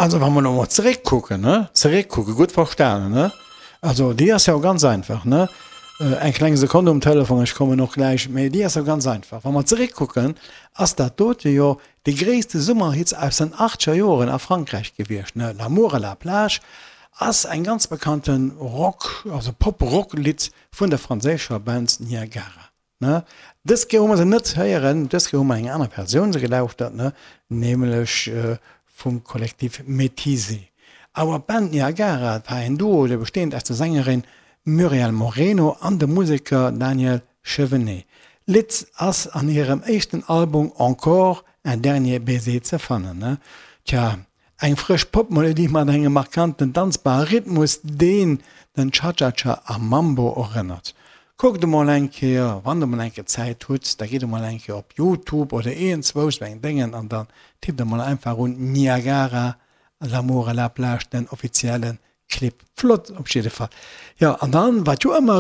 Also wa mer elo mol zeréckkucken, ne, zeréckkucken, gutt verstanen, ne, also déi ass jo ganz einfach, ne, eng kleng Sekonn um Telefon, ech kommen och gläich, mee déi ass jo ganz einfach. Wa mer zeréckkucken, ass dat dote jo dee gréisste Summerhits aus den achtzeger Joren a Frankräich gewiescht, ne, L'amour à la plage ass eng ganz bekannte Rock, also Pop-Rock-Lidd vun der franséischer Band Niagara. Ne? Dës Kéier hu mer se net héieren, dës Kéier hu mer eng aner Versioun se gelauschtert, ne? Nämlech vum Kollektiv Métisé. Awer d'Band Niagara war en Duo, dee besteend aus der Sängerin Muriel Moreno an dem Museker Daniel Chevenet. D'Lidd ass an hirem éischten Album Encore un dernier baiser ze fannen, ne? Tja, Eng frësch Popmelodie mat engem markanten danzbare Rhythmus, deen den Cha-Cha-Cha a Mambo erënnert. Kuckt emol eng Kéier, wann der emol eng Kéier Zäit hutt, da gitt emol eng Kéier op Youtube oder iergendzwousch sou eng Déngen an dann tippt emol einfach un Niagara, L'amour à la plage, den offiziellen Clip. Flott op jidde Fall. Jo, an dann, wat jo ëmmer erëm.